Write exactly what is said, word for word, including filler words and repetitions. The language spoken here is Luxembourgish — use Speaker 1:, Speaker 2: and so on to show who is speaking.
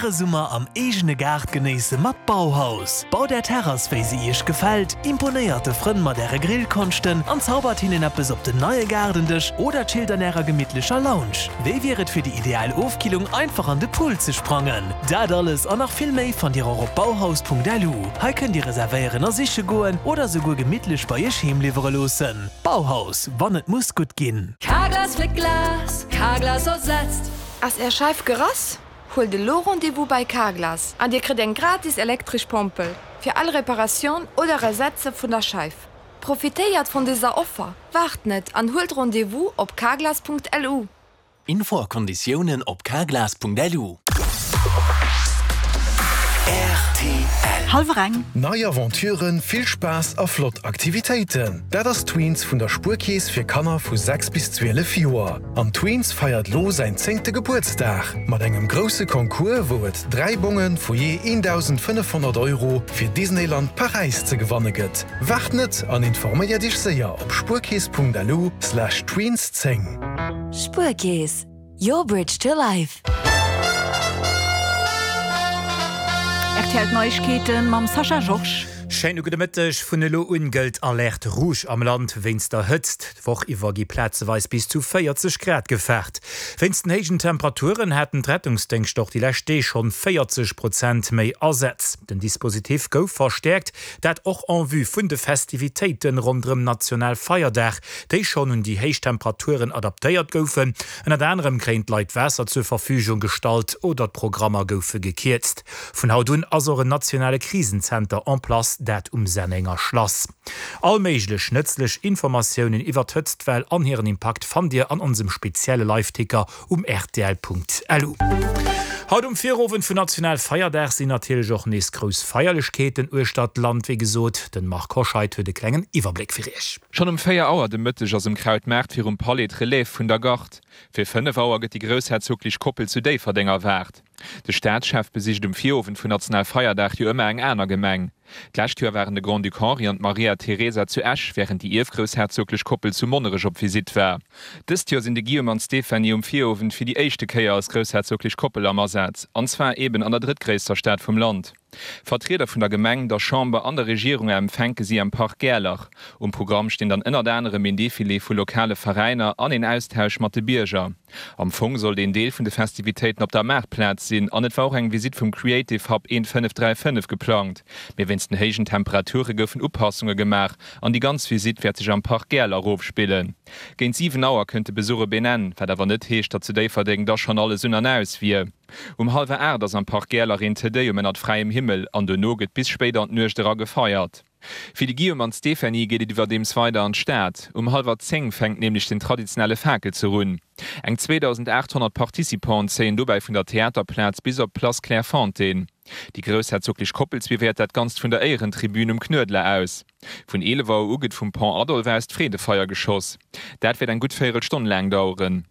Speaker 1: Äre Summer am eegene Gaart genéisse mat Bauhaus. Baut Är Terrass wéi se Iech gefält, imponéiert de Frënn mat Äre Grillkonschten an zaubert hinnen eppes op den neie Gaardendësch oder chillt an Ärer gemittlecher Lounge. Wéi wier et fir déi ideal Ofkillung einfach an de Pool ze sprangen? Dat alles an nach vill méi fannt Dir och op bauhaus Punkt L U. Hei kënnt Dir reservéieren a siche goen oder souguer gemittlech bei Iech heem liwwere loossen. Bauhaus, wann et muss gutt ginn.
Speaker 2: Carglass fléckt Glas, Carglass ersetzt.
Speaker 3: Ass Är Scheif gerass? Huelt elo Rendez-vous bei Carglass an Dir kritt eng gratis elektresch Pompel fir all Reparatioun oder Ersetze vun der Scheif. Profitéiert vun dëser Offer, waart net an huelt Rendez-vous op carglass Punkt L U.
Speaker 1: Info a Konditiounen op carglass Punkt L U.
Speaker 4: Hallwer eng.
Speaker 5: Nei Aventuren, vill Spaass a flott Aktivitéiten. Dat ass Tweens vun der Spuerkeess fir Kanner vu sechs bis zwielef Joer. An Tweens feiert lo säin zéngte Gebuertsdag mat engem grousse Concours, wou et dräi Bonge vu jee dausendfënnefhonnert Euro fir Disneyland Paräis ze gewanne gëtt. Waart net an informéier dech séier op spuerkeess Punkt L U slash Tweens zéng.
Speaker 2: Spuerkeess, your bridge to life.
Speaker 4: R T L Neiegkeeten mam Sascha Georges.
Speaker 6: Schéine gudde Mëtteg. Vun elo un gëllt Alerte rouge am Land wéinst der Hëtzt. D'Woch iwwer gi plazeweis bis zu véierzeg Grad gefaart. Wéinst den héijen Temperaturen haten d'Rettungsdéngschter och déi lescht Deeg schonn véierzeg Prozent méi Asätz. Den Dispositif gouf verstäerkt, dat och en vue vun de Festivitéiten ronderëm Nationalfeierdag, déi schonn un déi héich Temperaturen adaptéiert goufen. Ënnert anerem kréien d'Leit Waasser zur Verfügung gestallt oder d'Programmer goufe gekierzt. Vun haut un ass och en nationale Krisenzenter en place, dat um Sennenger Schlass. All méiglech nëtzlech Informatiounen iwwer d'Hëtztwell an hiren Impakt fannt Dir an onsem spezielle Liveticker um R T L Punkt L U. Haut um Virowend vun Nationalfeierdag sinn natierlech och nees grouss Feierlechkeeten uechter d'Land, wéi gesot. Den Marc Hoscheid huet e klengen Iwwerbléck fir Iech.
Speaker 7: Schonn um véier Auer de Mëtteg ass um Krautmaart virum Palais d'Relève vun der Gard. Fir fënnef Auer gëtt déi groussherzoglech Koppel zu Déifferdeng erwaart. De Staatschef besicht um Virowend vun Nationalfeierdag jo ëmmer eng aner Gemeng. D'lescht Joer waren de Grand-Duc Henri an d'Maria Teresa zu Esch, wärend déi ierfgroussherzoglech Koppel zu Monnerech op Visitt war. Dëst Joer sinn de Guillaume an d'Stéphanie um Virowend fir déi éischte Kéier als groussherzoglech Koppel am Asaz, an zwar eben an der drëttgréisster Stad vum Land. Vertrieder vun der Gemeng, der Chamber an der Regierung empfänke si am Park Gaerlach. Um Programm stinn dann ënnert anerem een Defilé vu lokale Veräiner an een Austausch mat de Bierger. Am Fong sollt een Deel vun de Festivitéiten op der Maartplaz sinn an et war och eng Visitt vum Creative Hub fënnef dräi fënnef geplangt. Mee wéinst den héijen Temperature goufen Upassunge gemaach an déi ganz Visitt wäert sech am Park Gaerlach ofspillen. Géint siwen Auer kënnt de Besuch op een Enn, wat awer net heescht, datt zu Déifferdeng da schonn alles un an aus wier. Um hallwer aacht ass am Park Gaerlach een Te Deum ënnert fräiem Himmel an dono gëtt bis spéit an d'Nuecht era gefeiert. Fir de Guillaume an d'Stéphanie geet et iwwerdeems weider an d'Stad. Um hallwer zéng fänkt nämlech den traditionelle Fakelzuch un. Eng zweedausendaathonnert Participanten zéien dobäi vun der Theaterplaz bis op d'Place Clairefontaine. Déi groussherzoglech Koppel suivéiert dat Ganzt vun der Éierentribün um Knuedler aus. Vun eelef Auer u gëtt vum Pont Adolphe aus d'Freedefeier geschoss. Dat wäert eng gutt Véierelstonn laang daueren.